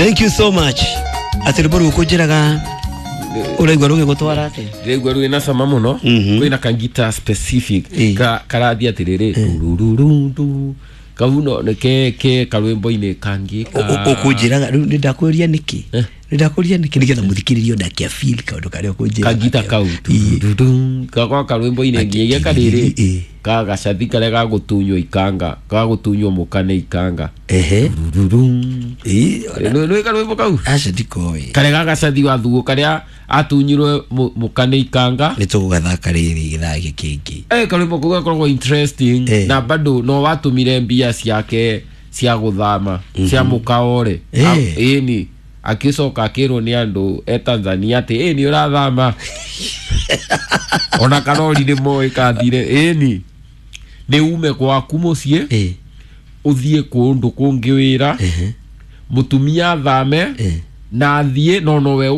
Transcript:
Thank you so much. Atä rwä mbo rå kå njä raga å raigua rå gä gå twara atä. Ndĩraigua rwĩna cama mũno. Kwĩna kangita specific karathiĩ atĩrĩrĩ turururundu kau no nĩ ke karwĩmbo-inĩ kangĩ ka. Å kå njä raga rä u nä ndakwå ria nä kä nä ndakwå ria nä kä nä getha må thikä rä rio ndakä kaå ndå karä a å kå njä. Kangita kau turururun gakwa karwĩmbo-inĩ nginyagia karĩrĩ ka gacathi karĩa gagũtunywo ikanga, gagũtunywo mũka nĩ ikanga. Ehe. Turururun. Nĩ karwĩmbo kau. Aca ndikoä. Karĩa ga gacathi wa thuo karĩa atunyirwe mũka nĩ ikanga. Nä tå gå gathaka rä rä gä thaa gä kä ngä. Karwĩmbo kau gakoragwo interesting. Na bado no watumire mbia ciake cia gũthama cia mũka ore. Ĩni akĩcoka akĩrwo nĩ andũ e Tanzania atĩ ĩ nĩ ũrathama ona karori nĩ moĩ kathire ĩni nĩ ume gwaku mũciĩ ũthiĩ kũndũ kũngĩ wĩra, mũtumia athame na athiĩ no nowe.